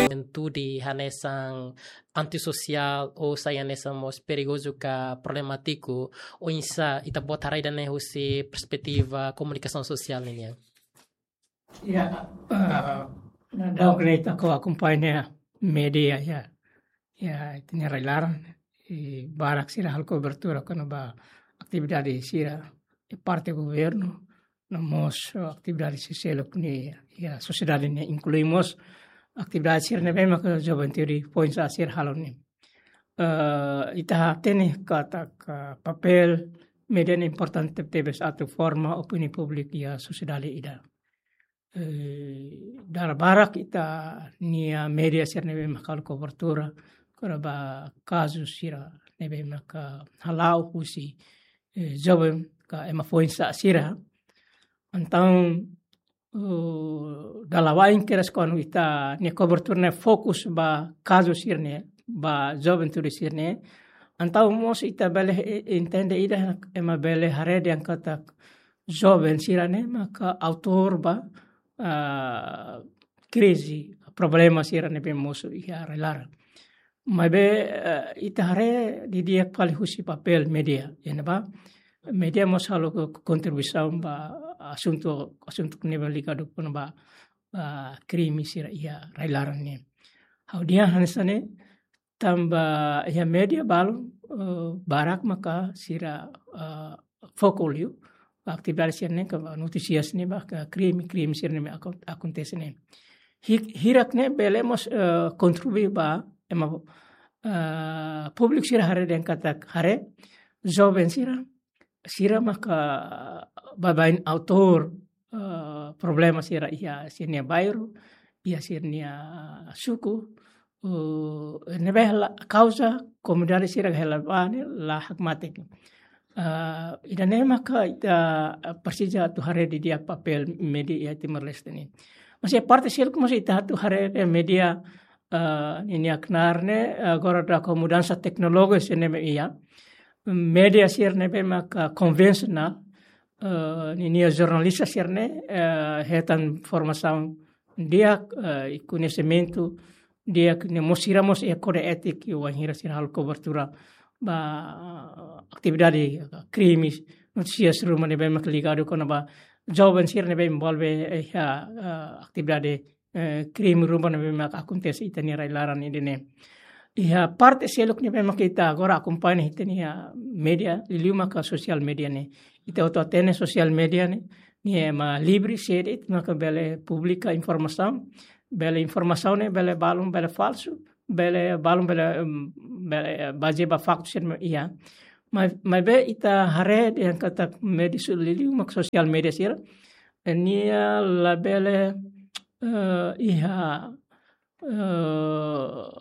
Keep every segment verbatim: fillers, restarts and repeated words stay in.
juventude hanesan antisosiál ou sai hanesan mós perigozu ka problemátiku, oinsá ita-boot haree ida-ne'e husi perspetiva komunikasaun sosiál ninian? Ya, eh, na dau kene ita ko akompaña media ya. Ya, ita-nia rai-laran, i barak sira halo kobertura kona-ba atividade sira, i parte governu, no mós, eh, atividade sira seluk ne'e, ya, sosiedade ne'e inklui mós atividade sira ne'ebé maka juventude foin-sa'e sira halo ne'e. Eh, ita hatene katak papél media ne'e importante tebes atu forma opiniaun públika iha sosiedade ida. Eh, dala barak ita-nia media sira ne'ebé maka halo kobertura kona-ba kazu sira ne'ebé maka hala'o husi, eh, joven ka ema foin-sa'e sira. Entaun, eh, dala bain kedas kuandu ita-nia kobertura ne'e fokus ba kazu sira-ne'e, ba juventude sira-ne'e. Entaun mós ita bele, eh, entende ida ema bele haree dehan katak joven sira-ne'e maka autór ba, ah, krize, problema sira ne'ebé mosu iha rai-laran. Maibé, eh, ita haree didi'ak fali husi papél media, iha ne'ebá media mós halo ko-, kontribuisaun ba asuntu, asuntu ne'ebé ligadu kona-ba, ah, krime sira iha rai-laran ne'e. Ha'u dehan hanesan ne'e, tanba iha media balu, eh, barak maka sira, eh, foku liu ba atividade sira-ne'e ka ba notísias ne'e ba ka krime, krime sira ne'ebé ako-, akontese ne'e. Hi-, hirak ne'e bele mós, eh, kontribui ba ema, eh, públiku sira haree dehan katak haree joven sira, sira maka baibain autór, eh, problema sira iha sira-nia bairru, iha sira-nia suku, eh, ne'ebé la kauza komunidade sira hela ba ne'e la hakmatek. Eh, ida-ne'e maka ita, eh, presiza atu haree didi'ak papél media iha Timor-Leste ne'e. Mas iha parte seluk mós ita atu haree dehan media, eh, ninia knaar ne'e, eh, agora daudaun ho mudansa teknologi sira ne'ebé iha. Media sira ne'ebé maka konvensionál, eh, ninia jornalista sira-ne'e, eh, hetan formasaun di'ak, eh, i koñesimentu di'ak ne'e mós sira mós iha kóde étika wainhira sira halo kobertura ba atividade, eh, krimes, notísias ruma ne'ebé maka ligadu kona-ba joven sira ne'ebé envolve iha, eh, atividade, eh, krime ruma ne'ebé maka akontese iha ita-nia rai-laran ida-ne'e. Iha parte seluk ne'ebé maka ita agora akompaña ita-nia media, liuliu maka sosiál media ne'e. Ita hotu hatene sosiál media ne'e, ne'e ema livre, sé de'it maka bele publika informasaun, bele informasaun ne'e bele balun, bele falsu, bele balun, bele, em, bele, eh, bazeia ba faktu sira ne'ebé iha. Mai, maibé ita haree dehan katak media su-, liuliu maka sosiál media sira, eh, nia labele, eh, iha, eh,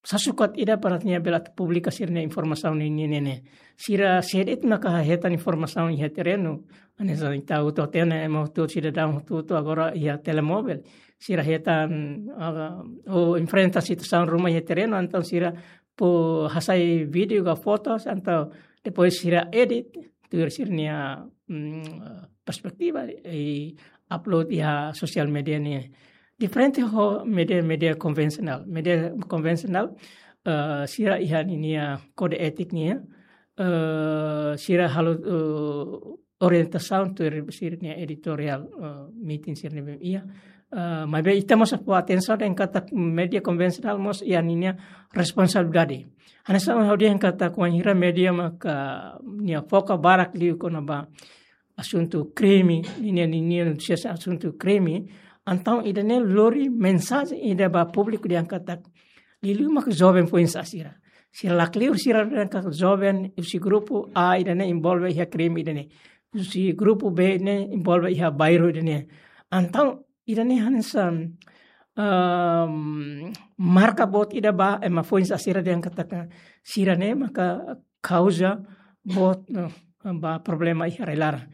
sasukat ida para nia bele atu publika sira-nia informasaun ninian ne'e. Sira sé de'it maka hetan informasaun iha terrenu. Hanesan ita hotu hatene ema hotu sidadaun hotu-hotu agora iha telemovel. Sira hetan, ah, ou enfrenta situasaun ruma iha terrenu, entaun sira fó hasai vídeo ka foto, entaun depois sira edit, tuir sira-nia, mm, perspetiva i upload iha sosiál media ne'e. Diferente ho media, media konvensionál. Media konvensionál, eh, sira iha ninia kóde étika nian, eh, sira halo, eh, orientasaun tuir sira-nia editoriál, eh, meeting sira ne'ebé iha. Eh, maibé ita mós fó atensaun dehan katak media konvensionál mós iha ninia responsabilidade. Hanesan ha'u dehan katak wainhira media maka nia foka barak liu kona-ba asuntu krime, ninia, ninia notísias asuntu krime, entaun ida-ne'e lori mensajen ida ba públiku dehan katak liuliu maka joven foin-sa'e sira. Sira lakleur sira dehan katak joven husi grupu A ida-ne'e envolve iha krime ida-ne'e. Husi grupu B ne'e envolve iha bairru ida-ne'e. Entaun ida-ne'e hanesan, ehm, marka boot ida ba ema foin-sa'e sira dehan katak sira-ne'e maka kauza boot, eh, ba problema iha rai-laran.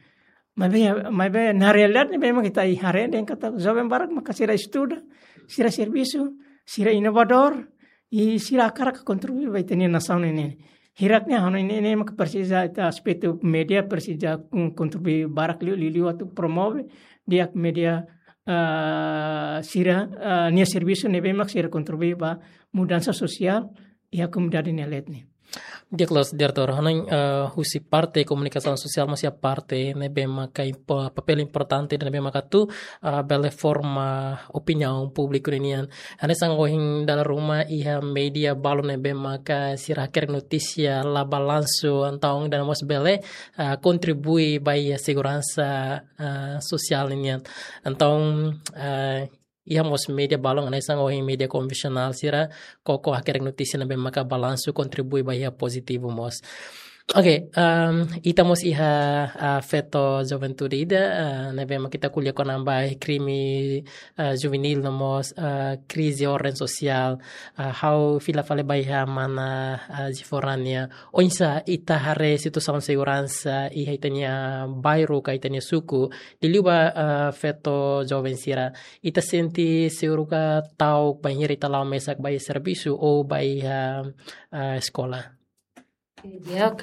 Maibé, maibé na realidade ne'e memang ita haree dehan katak joven barak maka sira estuda, sira servisu, sira inovadór, i sira hakarak kontribui ba ita-nia nasaun ne'e. Hirak ne'e hanoin ne'e, ne'e maka presiza ita aspetu media presiza, mm, kontribui barak liu, liu, liu atu promove di'ak media, ah, sira, ah, nia servisu ne'ebé mak sira kontribui ba mudansa sosiál iha komunidade nia leet nian. Di'ak loos, Diretór, hanoin, eh, husi parte komunikasaun sosiál mós iha parte ne'ebé maka impo-, papél importante ne'ebé maka atu, eh, bele forma opiniaun públiku ninian. Hanesan ohin dala ruma iha média balu ne'ebé maka sira hakerek notísia la balansu, entaun ida-ne'e mós bele, eh, kontribui ba iha seguransa, eh, sosiál ninian. Entaun, eh, iha mós média balun hanesan ohin média konvensionál sira koko hakerek notísia ne'ebé maka balansu kontribui ba iha pozitivu mós. Oke, em, ita mós iha, ah, feto juventude ida, ah, ne'ebé maka ita ko'alia kona-ba krime, ah, juvenil no mós, ah, krize orden sosiál, ah, ha'u fila fali ba iha mana, ah, Zifora nian. Oinsá ita haree situasaun seguransa iha ita-nia bairru ka ita-nia suku, liuliu ba, ah, feto joven sira. Ita sente seguru ka ta'uk bainhira ita la'o mesak ba iha servisu ou ba iha, ah, eskola? Di'ak,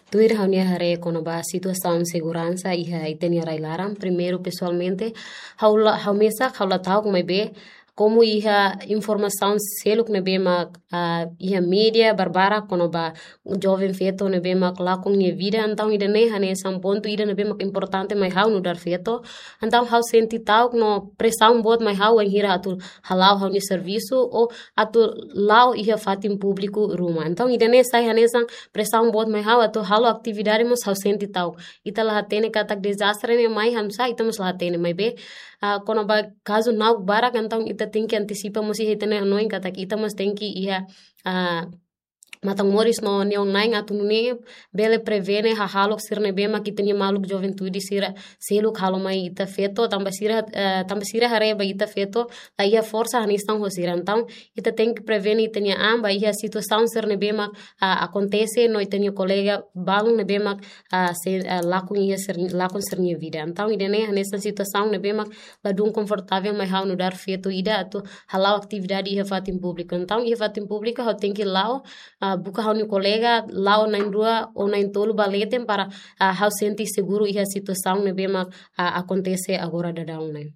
tuir ha'u-nia haree kona-ba situasaun seguransa iha ita-nia rai-laran. Primeiru, pesoalmente, ha'u la, ha'u mesak, ha'u la ta'uk maibé, komu iha informasaun seluk ne'ebé mak, ah, iha média barbarak kona-ba joven feto ne'ebé mak lakon nia vida, entaun ida-ne'e hanesan pontu ida ne'ebé mak importante mai ha'u nu'udar feto. Entaun ha'u sente ta'uk no presaun boot mai ha'u bainhira atu hala'o ha'u-nia servisu ou atu la'o iha fatin públiku ruma. Entaun ida-ne'e sai hanesan presaun boot mai ha'u atu halo atividade mós ha'u sente ta'uk. Ita la hatene katak dezastre ne'e mai hanu'usá, ita mós la hatene maibé, ah, kona-ba kazu na'ok barak, entaun ita tenke antisipa mós iha ita-nia hanoin katak ita mós tenke iha, ah, matan-moris no neon-na'in atu nune'e bele prevene hahalok sira ne'ebé mak ita-nia maluk juventude sira seluk halo mai ita feto, tanba sira, eh, tanba sira haree ba ita feto la iha forsa hanesan ho sira. Entaun ita tenke prevene ita-nia an ba iha situasaun sira ne'ebé mak, ah, akontese no ita-nia kolega balun ne'ebé mak, ah, se, ah, lakon iha sir-, lakon sira-nia vida. Entaun ida-ne'e hanesan situasaun ne'ebé mak ladún konfortavel mai ha'u nu'udar feto ida atu hala'o atividade iha fatin públiku. Entaun iha fatin públiku ha'u tenke la'o, ah, buka ha'u-nia kolega, la'o na'in-rua ou na'in-tolu ba leten para, ah, ha'u sente seguru iha situasaun ne'ebé mak, ah, akontese agora daudaun ne'e.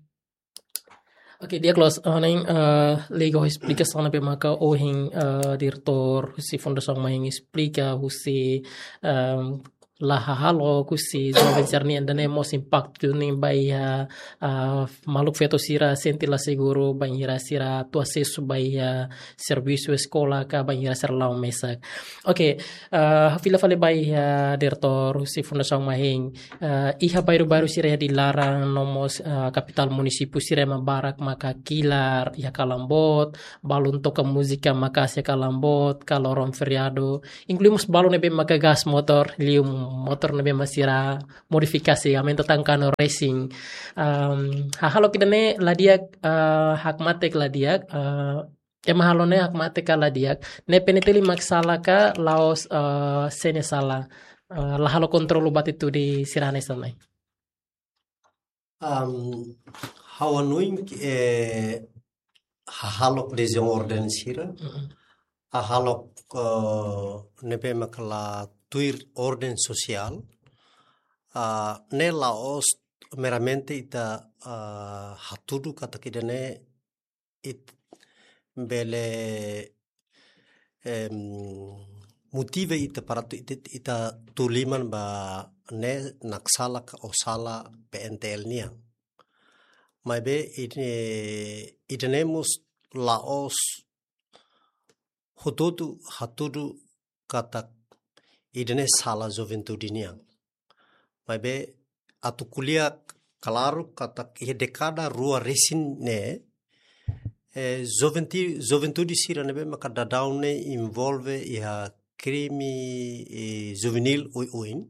Oke, di'ak loos, ah, ne'e, eh, liga ho esplikasaun ne'ebé maka ohin, eh, diretór husi Fundasaun Mahin esplika husi, em, la hahalok husi joven sira-nian ida-ne'e mós impaktu ne'e ba iha, ah, maluk feto sira sente la seguru bainhira sira atu asesu ba iha servisu, eskola ka bainhira sira la'o mesak. Oke, ah, fila fali ba iha diretór husi Fundasaun Mahin. Ah, iha bairru-bairru sira iha Dili laran no mós, ah, kapitál munisípiu sira ema barak maka kilar iha kalan boot, balun toka múzika maka'as iha kalan boot, ka loron feriadu. Inklui mós balun ne'ebé maka gas motór, liu motór ne'ebé mak sira modifikasi, aumenta tan kanu racing. Em, hahalok ida-ne'e la di'ak, eh, hakmatek la di'ak, eh, ema halo ne'e hakmatek ka la di'ak. Ne'e P N T L mak sala ka la'ós, eh, sé nia sala, eh, la halo kontrolu ba atitude sira hanesan ne'e? Am, ha'u hanoin, eh, hahalok dezastre orden sira, Mm-mm. hahalok, eh, ne'ebé maka la tuir orden sosiál, ah, ne'e la'ós meramente ita, ah, hatudu katak ida-ne'e ita bele, em, motiva ita para atu ita, ita tun liman ba ne'e mak sala ka la sala P N T L nian. Maibé ida-ne'e, ida-ne'e mós la'ós hotu-hotu hatudu katak ida-ne'e sala juventude nian. Maibé atu ko'alia klaru katak iha dékada rua resin ne'e, eh, juventi-, juventude sira ne'ebé maka daudaun ne'e envolve iha krime, eh, juvenil oioin.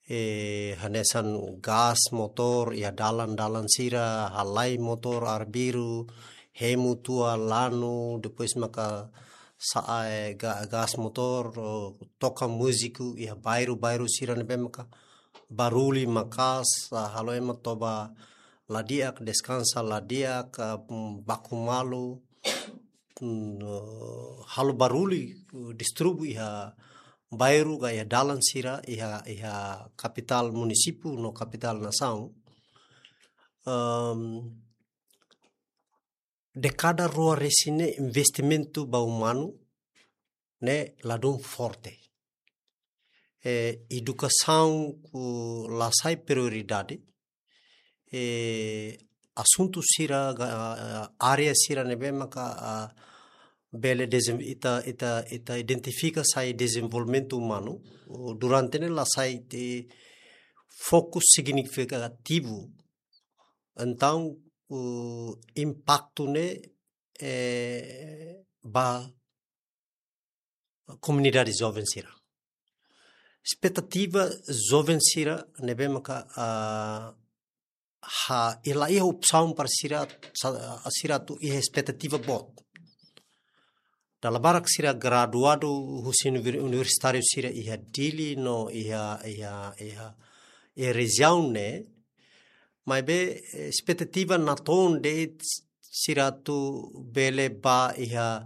Eh, hanesan gas motór iha dalan-dalan sira, halai motór arbiru, hemu tua lanu, depois maka sa'e, eh, ga-, gas motór, oh, toka múziku iha bairru-bairru sira ne'ebé maka barullu maka'as, ah, halo ema toba la di'ak, deskansa la di'ak, ah, mm, baku malu, mm, eh, halo barullu, eh, disturbu iha bairru ka iha dalan sira iha, iha kapitál munisípiu no kapitál nasaun. Ahm, dékada rua resin ne'e investimentu ba umanu ne'e ladún forte. Eh, edukasaun, uh, la sai prioridade. Eh, asuntu sira, ga-, ah, área sira ne'ebé maka, ah, bele dezem-, ita, ita, ita identifika sai dezenvolvimentu umanu, uh, durante ne'e la sai iha fokus signifikativu. Entaun, uh, impaktu ne'e, eh, ba komunidade joven sira. Espetativa joven sira ne'ebé maka, ah, ha, la iha opsaun para sira, sa-, sira atu iha espetativa boot. Dala barak sira graduadu husi univer-, universitáriu sira iha Dili no iha, iha, iha, iha rejiaun ne'e. Maibé, eh, espetativa natoon de'it sira atu bele bá iha,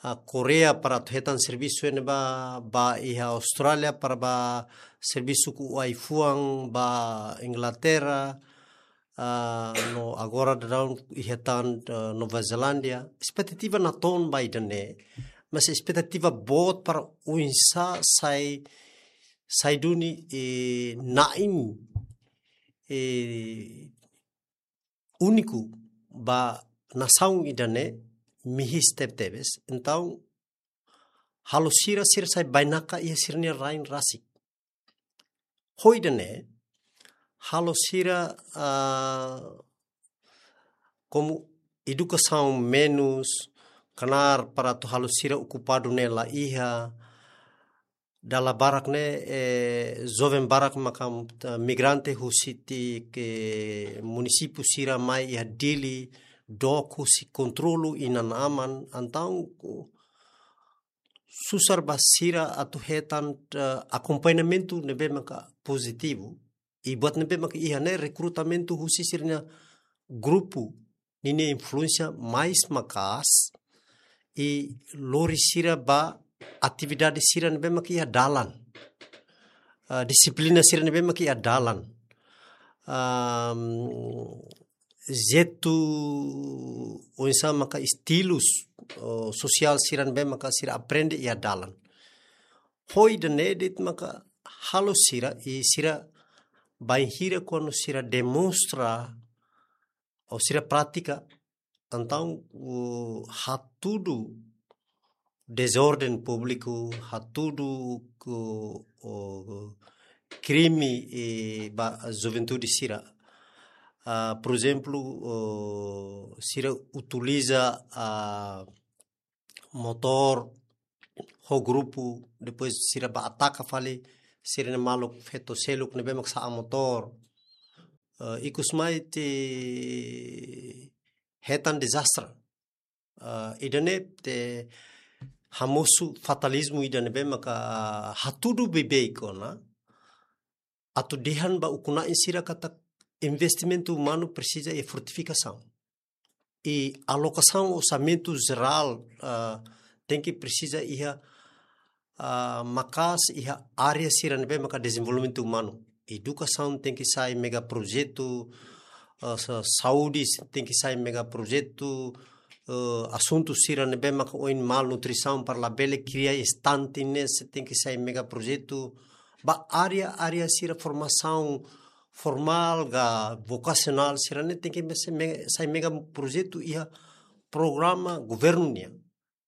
ah, Koreia para atu hetan servisu iha ne'ebá, bá iha Austrália para bá servisu ho ai-fuan, bá Inglaterra, ah, no agora daudaun iha tan, ah, Nova Zelándia. Espetativa natoon ba ida-ne'e, mas espetativa boot para oinsá sai, sai duni, eh, na'in, eh, úniku ba nasaun ida-ne'e mihis tebetebes. Entaun, halo sira, sira sai bainaka iha sira-nia rain rasik. Ho ida-ne'e, halo sira, ah, komu edukasaun menus, knaar para atu halo sira okupadu ne'e la iha, dala barak ne'e, eh, joven barak maka, eh, migrante husi tiha munisípiu sira mai iha Dili, dook husi kontrolu inan-aman, entaun susar ba sira atu hetan, eh, akompañamentu ne'ebé maka pozitivu. I buat ne'ebé maka iha ne'e rekrutamentu husi sira-nia grupu ninia influénsia mais maka'as i lori sira ba atividade sira ne'ebé maka iha dalan. Ah, dixiplina sira ne'ebé maka iha dalan. Ahm, jeitu oinsá maka estilus, oh, sosiál sira ne'ebé maka sira aprende iha dalan. Ho ida-ne'e de'it maka halo sira, i sira bainhira kuandu sira demonstra ou sira pratika, entaun, uh, hatudu dezorden públiku, hatudu ku, uh, krime, eh, ba juventude sira. Ah, por ezemplu, uh, sira utiliza, ah, motór ho grupu, depois sira bá ataka fali sira-nia maluk feto seluk ne'ebé mak sa'e motór. Eh, ikus mai ita hetan dezastre. Eh, ida-ne'e ita hamosu fatalizmu ida ne'ebé maka hatudu beibeik ona. Atu dehan ba ukun-na'in sira katak investimentu umanu presiza iha fortifikasaun. I alokasaun orsamentu jerál, ah, tenke presiza iha, ah, maka'as iha área sira ne'ebé maka dezenvolvimentu umanu. Edukasaun tenke sai megaprojetu, ah, sa-, saúde tenke sai megaprojetu, eh, asuntu sira ne'ebé maka ohin malnutrisaun para labele kria estante ne'e sei tenke sai megaprojetu. Ba área, área sira formasaun formál ka vokasionál sira-ne'e tenke me-, sai me-, sai megaprojetu iha programa governu nian.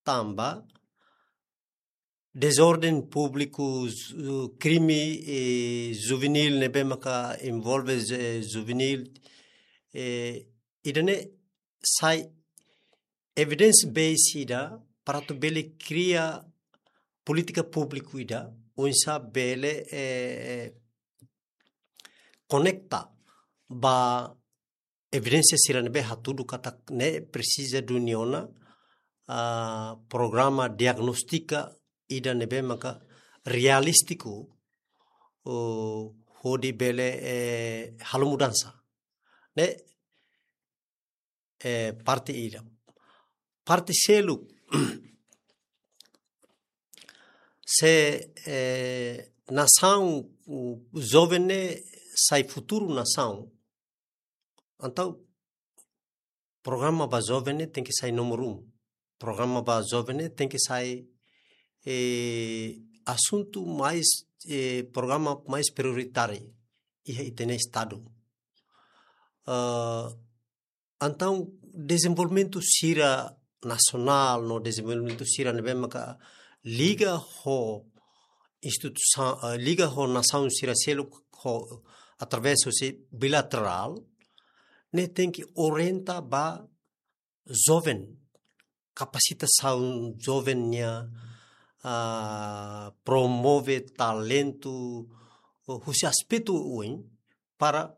Tanba dezorden públiku, ju-, krime, eh, juvenil ne'ebé maka envolve, eh, juvenil, eh, ida-ne'e sai evidence base ida para atu bele kria polítika públiku ida, oinsá bele, eh, konekta ba evidénsia sira ne'ebé hatudu katak ne'e presiza duni ona, ah, programa diagnóstika ida ne'ebé maka realístiku, oh, hodi bele, eh, halo mudansa. Ne'e, eh, parte ida. Parte seluk, se, eh, nasaun, uh, joven ne'e sai futuru nasaun, entaun programa ba joven ne'e tenke sai númeru um. Programa ba joven ne'e tenke sai, eh, asuntu mais, eh, programa mais prioritáriu iha ita-nia estadu. Ah, entaun dezenvolvimentu sira nasionál no dezenvolvimentu sira ne'ebé maka liga ho instituisaun, eh, liga ho nasaun sira seluk ho através husi bilaterál, ne'e tenke orienta ba joven, kapasitasaun joven nian, ah, promove talentu, husi aspetu oioin, para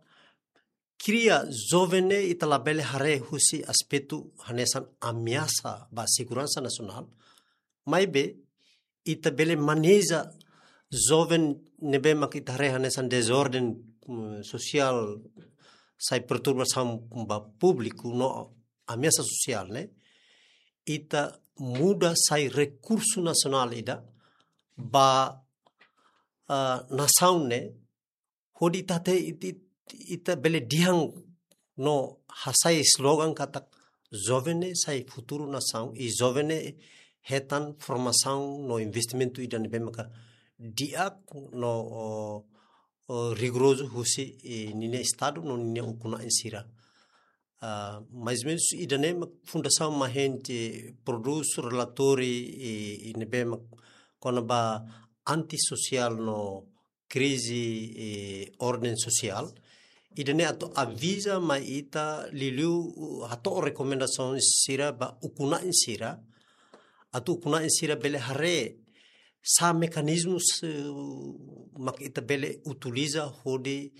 kria joven ne'e ita labele haree husi aspetu hanesan ameasa ba seguransa nasionál, maibé ita bele maneja joven ne'ebé mak ita haree hanesan dezorden, mm, sosiál, sai perturbasaun ba públiku no ameasa sosiál ne'e, ita muda sai rekursu nasionál ida ba, ah, nasaun ne'e, hodi ita te, it-, it-, ita bele dehan no hasai slogan katak joven ne'e sai futuru nasaun, i joven ne'e hetan formasaun no investimentu ida ne'ebé maka di'ak no, o, o, rigorozu husi, i, ninia estadu no ninia ukun-na'in sira. Ah, mais ou menus ida-ne'e mak Fundasaun Mahente prodús relatóriu, i, i ne'ebé mak kona-ba antisosiál no krize, eh, orden sosiál. Ida-ne'e atu aviza mai ita liuliu, uh, hato'o rekomendasaun sira ba ukun-na'in sira. Atu ukun-na'in sira bele haree sá mekanizmu, eh, mak ita bele utiliza hodi,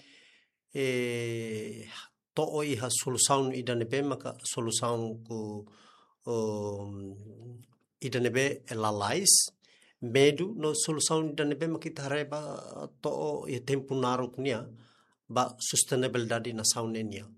eh, to'o iha solusaun ida ne'ebé maka solusaun ku, um, ida ne'ebé lalais, medu no solusaun ida ne'ebé maka ita haree ba to'o iha tempu naruk nian, ba sustentabilidade nasaun ne'e nian.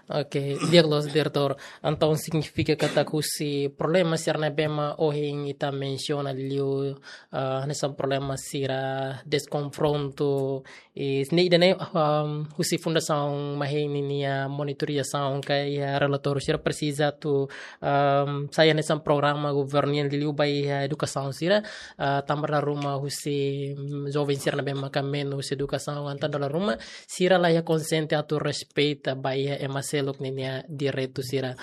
Oke, di'ak loos, Diretór. Entaun signifika katak husi problema sira ne'ebé mak ohin ita mensiona liu, ah, hanesan problema sira deskonfrontu, i ne'e ida-ne'e, um, husi Fundasaun Mahente ninia monitorizasaun ka iha relatóriu sira presiza atu, um, sai hanesan programa governu nian liuliu ba iha edukasaun sira, ah, tanba dala ruma husi, mm, joven sira ne'ebé maka menus edukasaun, entaun dala ruma sira la iha konsiente atu respeita ba iha ema seluk ninia direitu sira.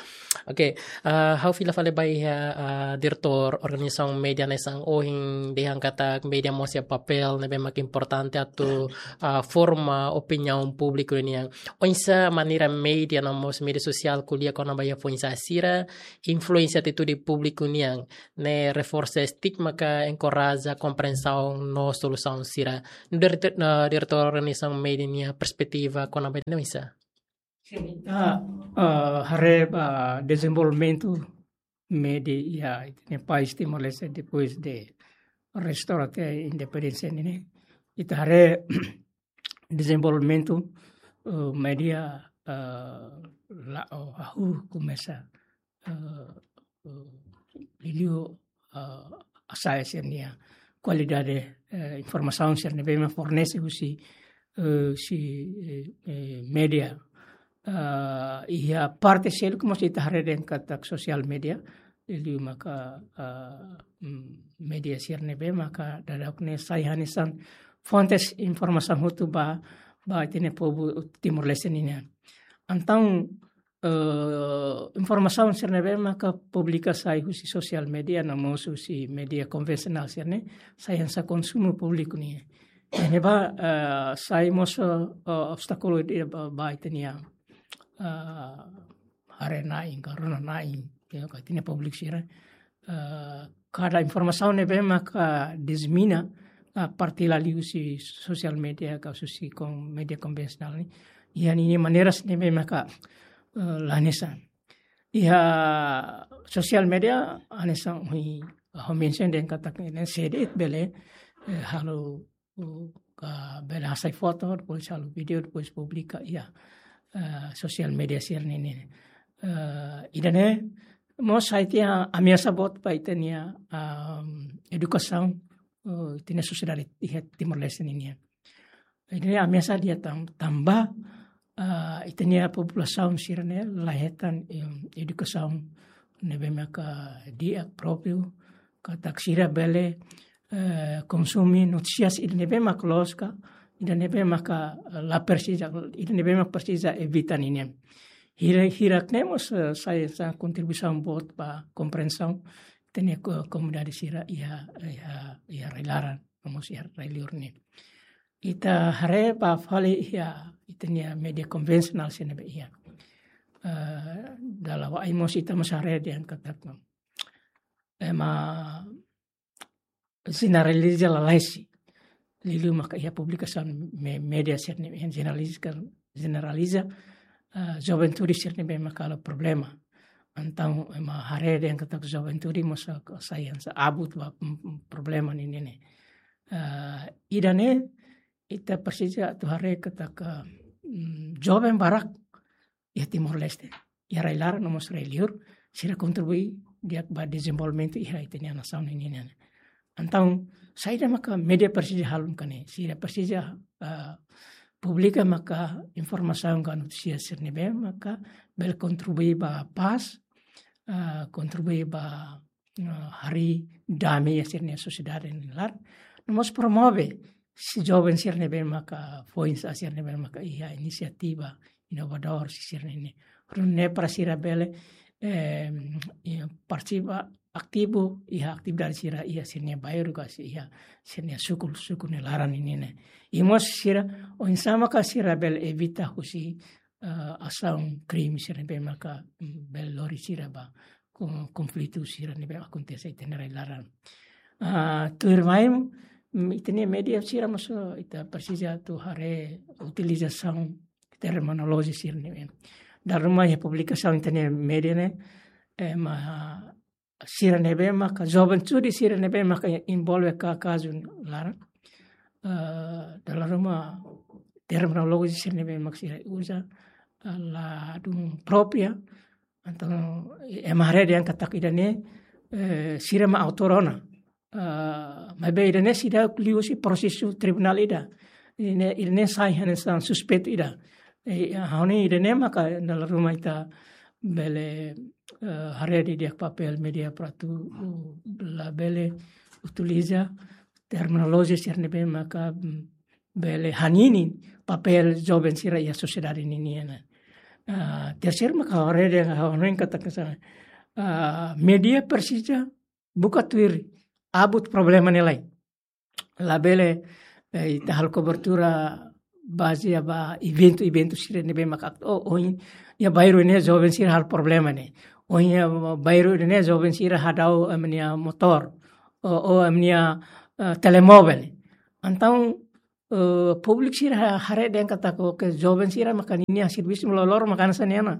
Oke, ah, ha'u fila fali ba iha, ah, Diretór Organizasaun Média hanesan ohin dehan katak média mós iha papél ne'ebé mak importante atu, ah, forma opiniaun públiku nian. Oinsá maneira média no mós média sosiál ko'alia kona-ba iha foin-sa'e sira influensia atitude públiku nian, ne'e reforsa estigma ka enkoraja komprensaun no solusaun sira. Nu'udar, ah, Diretór Organizasaun Média nia perspetiva kona-ba ne'e oinsá? Sin, ita, ah, haree ba dezenvolvimentu média iha ita-nia país Timor-Leste depois de restaura até independénsia ne'e. Ita haree dezenvolvimentu, eh, média, eh, la, oh, hahú komesa, eh, eh, liuliu, eh, hasa'e sira-nia kualidade, eh, informasaun sira ne'ebé mak fornese husi, eh, husi, eh, eh, média. Eh, iha parte seluk mós ita haree dehan katak sosiál média, liuliu maka, eh, mm, média sira ne'ebé maka daudaun ne'e sai hanesan fontes informasaun hotu ba, ba ita-nia povu Timor-Leste nian. Entaun, eh, informasaun sira ne'ebé maka publika sai husi sosiál média no mós husi média konvensionál sira-ne'e, sai hanesan konsumu públiku nian. Ne'ebá, eh, sai mós, eh, obstákulu ida ba, ba ita-nia, eh, haree-na'in ka rona-na'in, ya, ka ita-nia públiku sira. Eh, kada informasaun ne'ebé maka disemina, ah, partilla liuhusi sosiál média ka husi kon-, média konvensionál ne'e, iha ninia maneira sira ne'ebé maka, eh, la hanesan. Iha sosiál média hanesan ohin ha'u mensiona dehan katak ne'e sé de'it bele, eh, halo, uh, ka bele hasai foto, depois halo vídeo, depois publika iha, eh, sosiál média sira-ne'e nian. Eh, ida-ne'e mós sai tiha ameasa boot ba ita-nia, um, edukasaun, eh, ita-nia sosiedade iha Timor-Leste nian. Ida-ne'e ameasa di'ak tan-, tanba, ah, ita-nia populasaun sira ne'e la hetan, em, edukasaun ne'ebé maka di'ak própriu, katak sira bele, eh, konsume notísias ida ne'ebé maka loos ka, ida ne'ebé maka, eh, la presiza, ida ne'ebé maka presiza evita ninian. Hira, hirak ne'e mós, eh, sai, sai kontribuisaun boot ba komprensaun ita-nia ko-, komunidade sira iha, iha, iha rai-laran, no mós iha rai-liur ne'e. Ita haree ba fali iha ita-nia média konvensionál sira ne'ebé iha. Eh, dala wa'in mós ita mós haree dehan katak ema jeneraliza lalais. Liuliu maka iha publikasaun me-, média sira ne'ebé jeneraliza, jeneraliza, eh, juventude sira ne'ebé maka halo problema. Entaun ema haree dehan katak juventude mós sai hanesan abut ba, mm, mm, problema ninian ne'e. Eh, ida-ne'e ita presiza atu haree katak, mm, joven barak iha Timor-Leste, iha rai-laran no mós rai-liur, sira kontribui di'ak ba dezenvolvimentu iha ita-nia nasaun ninian ne'e. Entaun, saida maka média presiza halo maka ne'e, sira presiza, ah, publika maka informasaun ka notísias sira ne'ebé maka bele kontribui ba pás, ah, kontribui ba, ah, harii dame iha sira-nia sosiedade nia laran. No mós promove joven sira ne'ebé maka foin-sa'e sira ne'ebé maka iha inisiativa inovadór sira-ne'e. Nune'e para sira bele, eh, iha partisipa ativu iha atividade sira iha sira-nia bairru ka iha sira-nia suku, suku nia laran ninian ne'e. I mós sira, oinsá maka sira bele evita husi, eh, asaun krime sira ne'ebé maka, mm, bele lori sira ba kon-, konflitu sira ne'ebé akontese iha ita-nia rai-laran. Ah, tuirmai, mm, ita-nia média sira mós ita presiza atu haree utilizasaun terminolojia sira ne'ebé. Dala ruma iha publikasaun ita-nia média ne'e, ema sira ne'ebé maka, juventude sira ne'ebé maka envolve ka kazu laran. Eh, dala ruma terminolojia sira ne'ebé maka sira uza, eh, ladún própria. Entaun, ema haree dehan katak ida-ne'e, eh, sira mak autór ona. Ah, maibé ida-ne'e seidauk liuhusi prosesu tribunál ida. Ida-ne'e, ida-ne'e sai hanesan suspeitu ida. Eh, ha'u hanoin ida-ne'e maka dala ruma ita bele, eh, haree didi'ak papél média para atu, uh, labele utiliza terminolojia sira ne'ebé maka, mm, bele hanini papél joven sira iha sosiedade ninian. Ah, terseiru maka haree dehan ha'u hanoin katak hanesan, ah, média presiza buka tuir abut problema nia lai. Labele, eh, ita halo kobertura bazeia ba eventu-eventu sira ne'ebé maka, oh, oh, iha bairru ne'e joven sira halo problema ne'e. Oh, iha bairru ne'e joven sira hadau ema nia motór. Oh, oh, ema nia, eh, telemóvel. Entaun, eh, públiku sira ha-, haree dehan katak, oke, joven sira maka ninia servisu loroloron maka hanesan ne'e ona.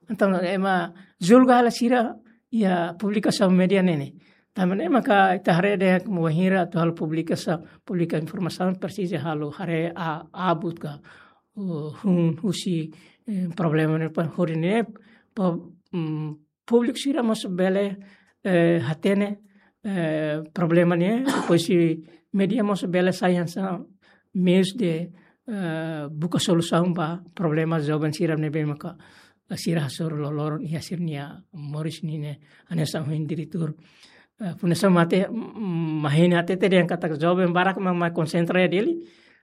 Entaun ema julga hela sira iha publikasaun média ne'e. Tanba ne'e maka ita haree dehan katak bainhira atu halo publikasaun, publika informasaun presiza halo haree a-, abut ka, eh, hun husi, eh, problema ne'e pa hori ne'e pa, mm, públiku sira mós bele, eh, hatene, eh, problema ne'e, depois média mós bele sai hanesan meius de, eh, buka solusaun ba problema joven sira ne'ebé maka sira hasoru loroloron iha sira-nia moris ninian. Hanesan ohin diretór, eh, Fundasaun Mate, mm, mahina hatete dehan katak joven barak mak, mak konsentra iha Dili.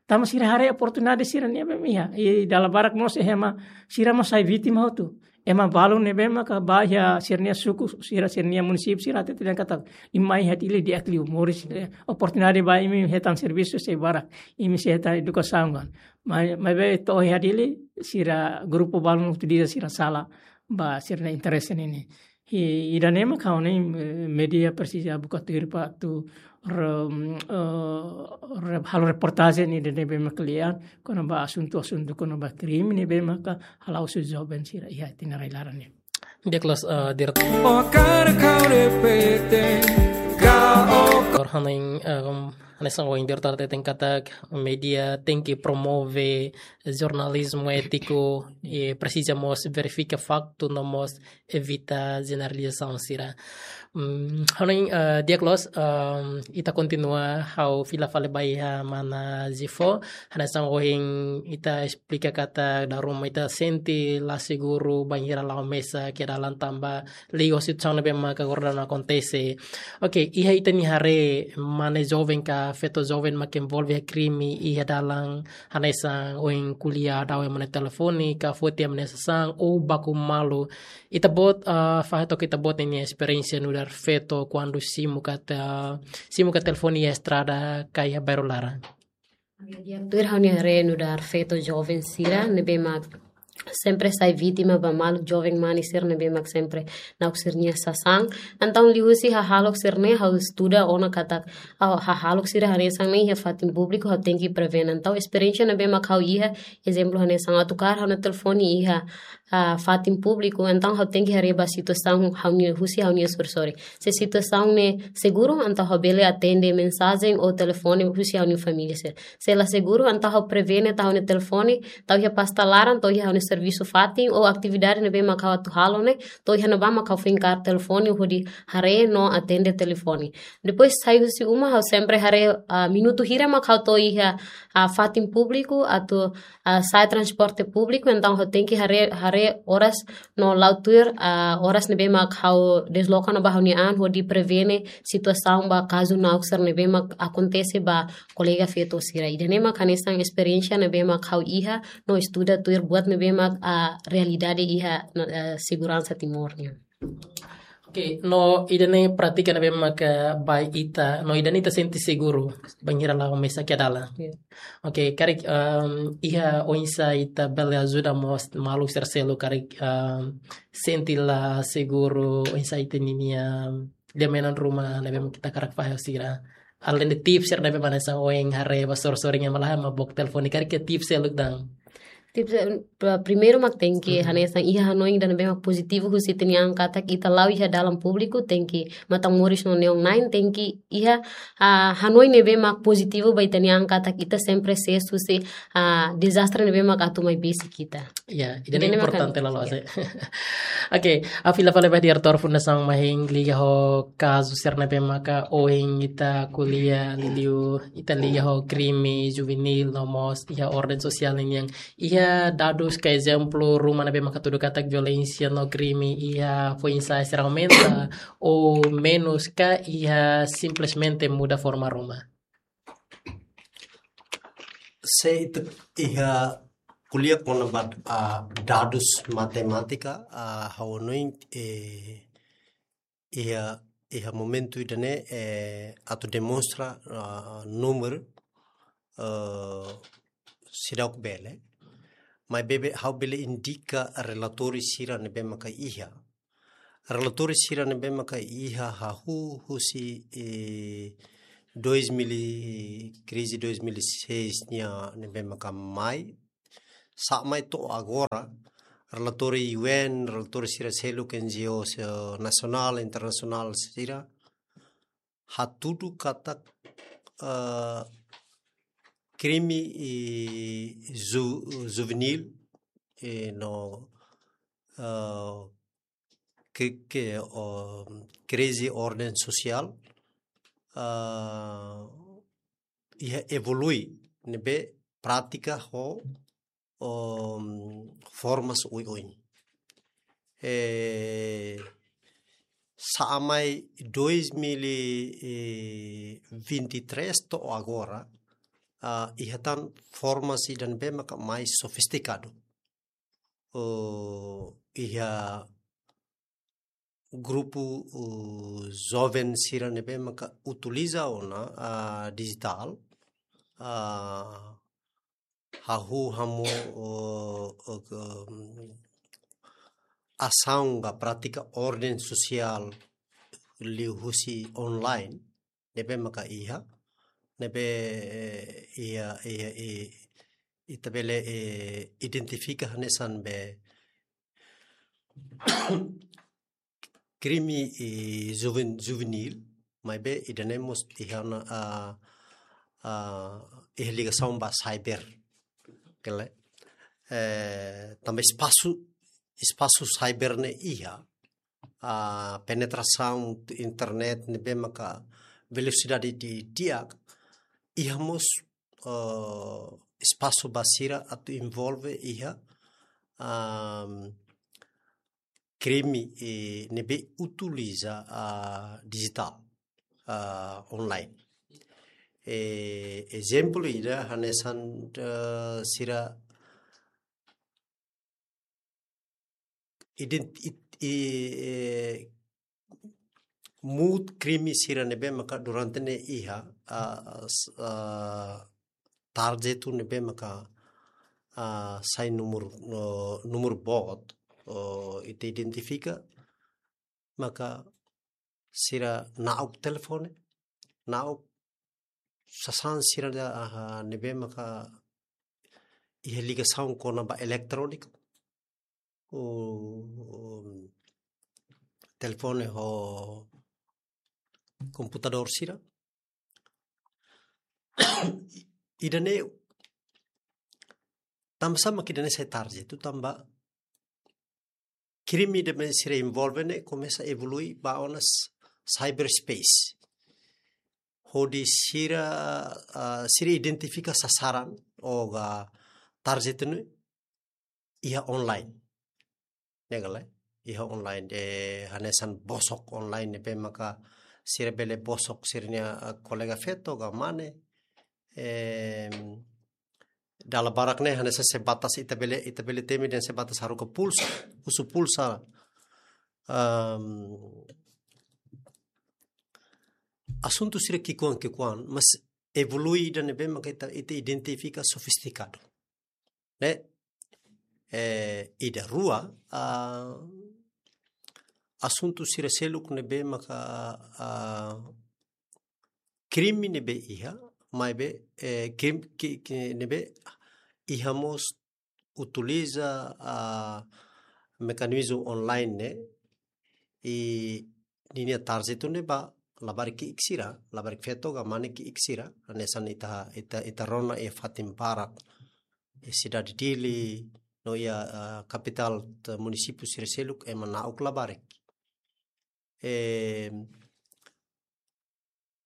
Tanba sira haree oportunidade sira-ne'ebé mak iha. I dala barak mós ema sira mós sai vítima hotu. Ema balu ne'ebé maka ba iha sira-nia suku, sira, sira-nia munisípiu sira hatete dehan katak imi mai iha Dili di'ak liu moris, eh, oportunidade ba imi hetan servisu sei barak, imi sei hetan edukasaun kan. Mai, maibé to'o iha Dili sira grupu balu utiliza sira sala ba sira-nia interese ninian. I ida-ne'e maka ha'u hanoin, eh, média presiza buka tuir para atu re-, eh, re-, halo reportajen ida ne'ebé mak kle'an kona-ba asuntu-asuntu kona-ba krime ne'ebé maka hala'o husi joven sira iha ita-nia rai-laran ne'e. Di'ak loos, eh, diretór. Okar kau repete, kau. Ha'u hanoin, eh, hanesan ohin diretór hateten katak média tenke promove jornalizmu étiku, i presiza mós verifika faktu no mós evita jeneralizasaun sira. Hmm, hanoin, eh, di'ak loos, em, ita kontinua ha'u fila fali ba iha mana Zifo, hanesan ohin ita esplika katak dala ruma ita sente la seguru bainhira la'o mesak iha dalan tanba liga ho situasaun ne'ebé maka agora daudaun akontese. Oke, iha ita-nia haree mane joven ka feto joven mak envolve iha krime iha dalan hanesan ohin ko'alia daudaun iha mane telefone ka foti iha mane sasán ou baku malu. Ita-boot, ah, fahe took ita-boot nia esperiénsia nu'udar feto kuandu simu katak, simu katak telefone iha estrada ka iha bairru laran. Di'ak tuir ha'u-nia haree nu'udar feto joven sira ne'ebé mak sempre sai vítima ba maluk joven mane sira ne'ebé mak sempre na'ok sira-nia sasán. Entaun liuhusi hahalok sira-ne'e ha'u estuda ona katak, ah, hahalok sira hanesan ne'e iha fatin públiku ha'u tenke prevene. Entaun esperiénsia ne'ebé mak ha'u iha, ezemplu hanesan atu kaer ha'u-nia telefone iha, ah, fatin públiku, entaun ha'u tenke haree ba situasaun ha'u-nia husi ha'u-nia sorin-sorin. Se situasaun ne'e seguru, entaun ha'u bele atende mensajen ou telefone husi ha'u-nia família sira. Se la seguru, entaun ha'u prevene, tau ha'u-nia telefone, tau iha pasta laran, tau iha ha'u-nia servisu fatin, ou atividade ne'ebé mak ha'u atu halo ne'e, tau iha ne'ebá mak ha'u foin kaer telefone, hodi haree no atende telefone. Depois sai husi uma, ha'u sempre haree, ah, minutu hira mak ha'u to'o iha, ah, fatin públiku, atu, ah, sa'e transporte públiku, entaun ha'u tenke haree, haree oras no la'o tuir, ah, oras ne'ebé mak ha'u desloka no ba ha'u-nia an hodi prevene situasaun ba kazu na'ok sira ne'ebé mak akontese ba kolega feto sira. Ida-ne'e mak hanesan esperiénsia ne'ebé mak ha'u iha no estuda tuir buat ne'ebé mak, ah, realidade iha, no, ah, seguransa Timor nian. Oke, no ida-ne'e prátika ne'ebé maka ba ita, no ida-ne'e ita sente seguru bainhira la'o mesak iha dalan. Iya. Oke, karik, em, iha oinsá ita bele ajuda mós maluk sira seluk karik, em, sente la seguru, oinsá ita-ninia lian menon ruma ne'ebé mak ita hakarak fahe ho sira. Alende tips sira ne'ebé mak hanesan ohin haree ba sorin-sorin iha malae mak book telefone karik iha tips seluk tan. Tips, eh, pra-, primeiru mak tenke, mhm, hanesan iha hanoin ida ne'ebé mak pozitivu husi ita-nia an katak ita la'o iha dalan públiku, tenke matan-moris no neon-na'in, tenke iha, ah, hanoin ne'ebé mak pozitivu ba ita-nia an katak ita sempre ses husi, ah, dezastre ne'ebé mak atu mai besik ita. Ya, ida-ne'e mak importante, kan, la loos, ya. Oke, ha'u fila fali ba diretór Fundasaun Mahin liga ho kazu sira ne'ebé maka ohin ita ko'alia liuliu, ita liga ho krime juvenil no mós iha orden sosiál nian. Iha dadus ka ezemplu ruma ne'ebé mak hatudu katak violénsia no krime iha foin-sa'e sira aumenta ou menus ka iha simplesmente muda forma ruma? Se ita iha ko'alia kona-ba, ah, dadus matemátika, ah, ha'u hanoin, eh, iha, iha momentu ida-ne'e, eh, atu demonstra, ah, númeru, eh, seidauk bele. Maibé ha'u bele indika relatóriu sira ne'ebé maka iha. Relatóriu sira ne'ebé maka iha hahú husi, eh, dois mil e, krize dois mil e seis nian ne'ebé maka mai, sa'e mai to'o agora, relatóriu U N, relatóriu sira seluk, N G O sira nasionál, internasionál sira, hatudu katak, eh, krime, eh, ju-, juvenil, eh, no, eh, ke, ke, o, krize orden sosiál, eh, iha evolui ne'ebé prátika ho, um, formas oioin. Eh, sa'e mai dois mil e vinte e três to'o agora, ah, iha tan formas ida ne'ebé maka mais sofistikadu. Oh, iha grupu, uh, joven sira ne'ebé maka utiliza ona, ah, dijitál, ah, hahú hamosu, uh, uh, um, asaun ka prátika orden sosiál liuhusi online, ne'ebé maka iha, ne'ebé, eh, iha, iha, i-, ita bele, eh, identifika hanesan be krime, eh, juven-, juvenil, maibé ida-ne'e mós iha ona, ah, ah, iha ligasaun ba cyber. Kele. Eh, tanba espasu, espasu cyber ne'e iha. ah, penetrasaun internet ne'ebé maka velosidade di'ak, iha mós, ah, espasu ba sira atu envolve iha, ah, krime, eh, ne'ebé utiliza, ah, dijitál, ah, online. Eh, ezemplu ida hanesan, eh, sira ident-, it-, i-, eh, muut krime sira ne'ebé maka durante ne'e iha, ah, s-, ah, tarjetu ne'ebé maka, ah, sai númeru, no, númeru boot, oh, ita identifika, maka sira na'ok telefone, na'ok sasán sira da, ah, ne'ebé maka iha ligasaun kona-ba eletróniku, o, telefone ho komputadór sira. Ida-ne'e, tanba sá mak ida-ne'e sai tarjetu, tanba krime ida ne'ebé sira envolve ne'e komesa evolui ba ona s-, cyberspace. Hodi sira, ah, sira identifika sasaran ou ga tarjetu ne'e iha online. Ne'e ka lae? Iha online, eh, hanesan bosok online ne'ebé maka sira bele bosok sira-nia, ah, kolega feto ka mane. Em, dala barak ne'e hanesan sebatas ita bele, ita bele temi dehan sebatas haruka pulsa, husu pulsa. Em, asuntu sira ki'ikoan-ki'ikoan, mas evolui ida ne'ebé maka ita, ita identifika sofistikadu. Ne'e, eh, ida. Rua, ah, asuntu sira seluk ne'ebé maka, ah, krime ne'ebé iha, maibé, eh, krim-, ki-, ki-, ne'ebé iha mós utiliza, ah, mekanizmu online ne'e, i ninia tarjetu ne'e ba labarik ki'ik sira, labarik feto ka mane ki'ik sira, hanesan ita, ita, ita rona iha fatin barak, iha sidade Dili, no iha, ah, kapitál, te-, munisípiu sira seluk ema na'ok labarik. Eh,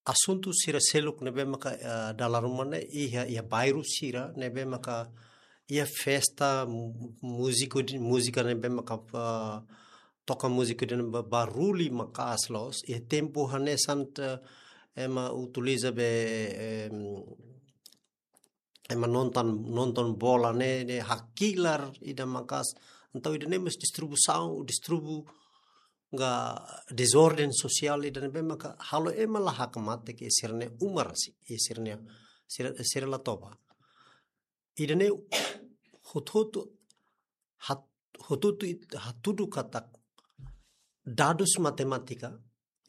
asuntu sira seluk ne'ebé maka, eh, dala ruma ne'e iha, iha bairru sira ne'ebé maka iha festa, mu-, múziku di-, múzika ne'ebé maka, eh, toka múziku ida ne'ebé ba-, barullu maka'as loos, iha tempu hanesan te-, ema utiliza be, em, ema nonton, nonton bola ne'e, ne'e hakilar ida maka'as. Entaun ida-ne'e mós distribuisaun, distribu-, ka dezorden sosiál ida ne'ebé maka halo ema la hakmatek iha sira-nia uma rasik, iha sira-nia, sira, sira la toba. Ida-ne'e hotu-hotu hat-, hotu-hotu it-, hatudu katak dadus matemátika,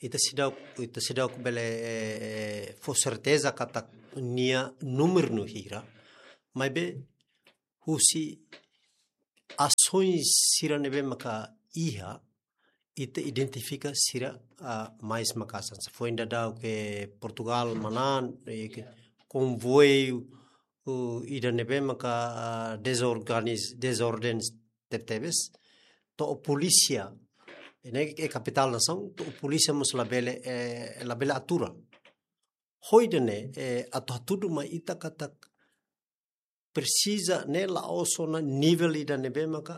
ita seidauk, ita seidauk bele, eh, eh, fó serteza katak nia númeru no hira, maibé husi asaun sira ne'ebé maka iha, ita identifika sira, ah, mais maka'as. Foin daudauk ke Portugal manán, eh, ke konvoiu, uh, ida ne'ebé maka, ah, dezorganiz-, dezorden tebetebes, to'o polísia, ne'e iha kapitál nasaun, to'o polísia mós labele, eh, labele atura. Ho ida-ne'e, eh, atu hatudu mai ita katak presiza ne'e la'ós ona nivel ida ne'ebé maka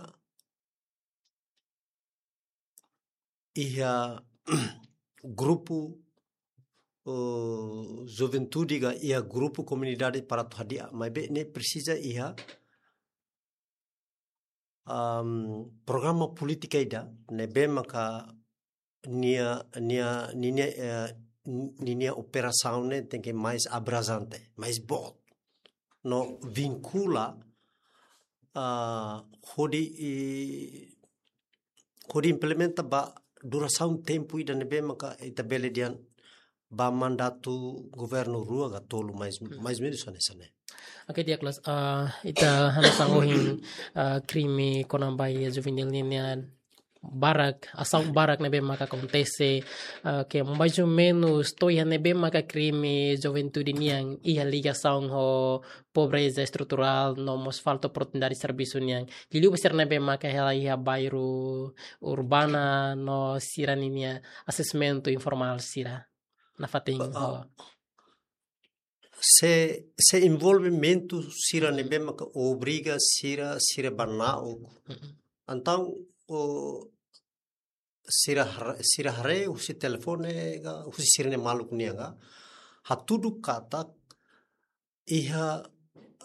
iha grupu, eh, juventude ka iha grupu komunidade para atu hadi'a, maibé ne'e presiza iha, am, programa polítika ida ne'ebé maka nia, nia, ninia, eh, ninia operasaun ne'e tenke mais abranjente, mais boot. No vinkula, ah, hodi, i, hodi implementa ba durasaun tempu ida ne'ebé maka ita bele dehan ba mandatu governu rua ka tolu mais, mais ou menus hanesan ne'e. Oke, di'ak loos, ah, ita hanesan ohin, ah, krime kona-ba iha juvenil nian, barak, asaun barak ne'ebé maka akontese, eh, ke mais ou menus to'o iha ne'ebé maka krime juventude nian iha ligasaun ho pobreza estruturál no mós falta oportunidade servisu nian. Liuliu ba sira ne'ebé maka hela iha bairru urbana no sira ninia asesmentu informál sira. Nafatin Ah, ah. ho. Se, se envolvimentu sira ne'ebé maka obriga sira, sira ba na'ok. Mm-mm. Entaun, o, sira har-, sira haree husi telefone ka, husi sira-nia maluk nian ka, hatudu katak iha,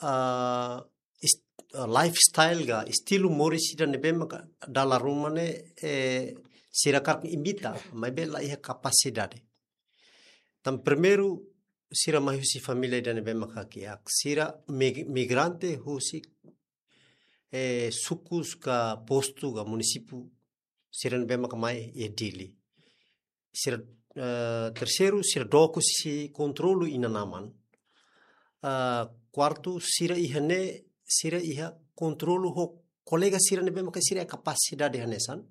ah, ist-, ah, lifestyle ka, estilu moris ida ne'ebé maka dala ruma ne'e, eh, sira hakarak imita, maibé la iha kapasidade. Tan primeiru, sira mai husi família ida ne'ebé maka kiak, sira mig-, migrante husi, eh, sukus ka postu ka munisípiu sira ne'ebé maka mai iha Dili. Sira, eh, terseiru, sira dook husi kontrolu inan-aman. Ah, kuartu, sira iha ne'e, sira iha kontrolu ho kolega sira ne'ebé maka sira iha kapasidade hanesan.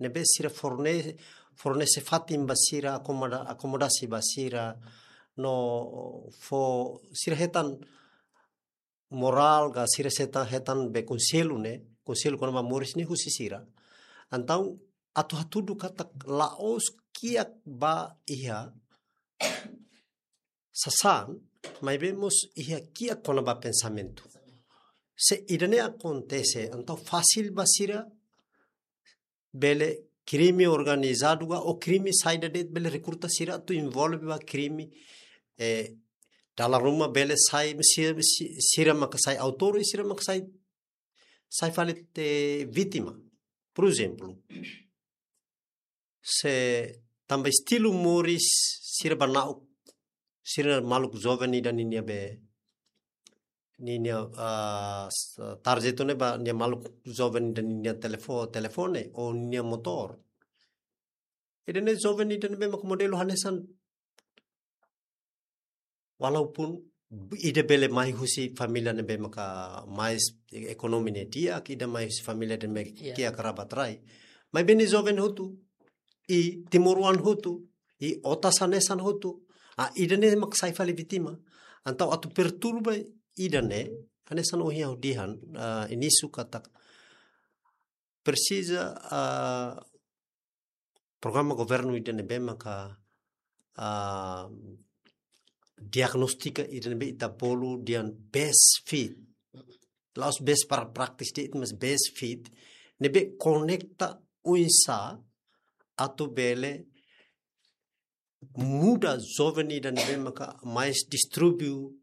Ne'ebé sira forne-, fornese fatin ba sira, akomoda-, akomodasi ba sira, no fó sira hetan morál ka sira hetan, hetan be konsellu ne'e, konsellu kona-ba moris ne'e husi sira. Entaun atu hatudu katak la'ós kiak ba iha sasán, maibé mós iha kiak kona-ba pensamentu. Se ida-ne'e akontese, entaun fasil ba sira bele krime organizadu ka, ou krime saida de'it bele rekruta sira atu envolve ba krime, eh, dala ruma bele sai, si-, si-, sira maka sai autór, sira maka sai, sai fali te vítima. Por ezemplu, se tanba estilu moris sira ba na'ok, sira maluk joven ida ninia be, ninia, ah, s-, target ne'e ba nia maluk joven ida ninia telefo-, telefone ou nia motór. Ida-ne'e joven ida ne'ebé maka modelu hanesan, walaupun ida bele mai husi família ne'ebé maka mais ekonomia ne'e di'ak, ida mai husi família ne'ebé Ya. kiak kerabat rai. Maibé nia joven hotu, i timoroan hotu, i otas hanesan hotu, ah, ida-ne'e maka sai fali vítima. Entaun atu perturba ida-ne'e, hanesan ohin ha'u dehan, ah, inísiu katak presiza, ah, programa governu ida ne'ebé maka, ah, diagnostika ida ne'ebé ita bolu dehan best fit. La'ós best para practice de'it, mas best fit. Ne'ebé konekta oinsá atu bele muda joven ida ne'ebé maka mais distúrbiu,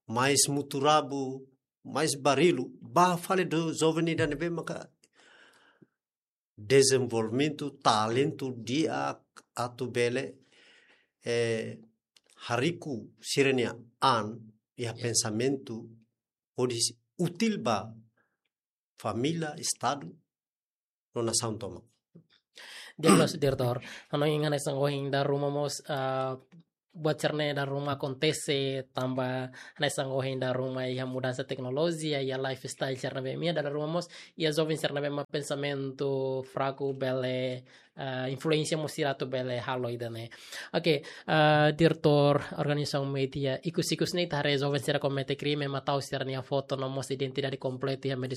mais muturrabu, mais barullu, ba fali do joven ida ne'ebé maka dezenvolvimentu, talentu di'ak atu bele, eh, hariku sira-nia an iha Ya. pensamentu hodi útil ba família, estadu, no nasaun tomak. Di'ak loos, diretór. Ha'u hanoin hanesan ohin dala ruma mós, ah, buat sira-ne'e dala ruma akontese tanba hanesan ohin dala ruma iha mudansa teknolojia, iha lifestyle sira ne'ebé mak iha, dala ruma mós iha joven sira ne'ebé mak pensamentu fraku bele, ah, influénsia mós sira atu bele halo ida-ne'e. Oke, ah, diretór organizasaun média, ikus-ikus ne'e ita haree joven sira komete krime, ema tau sira-nia foto no mós identidade kompletu iha média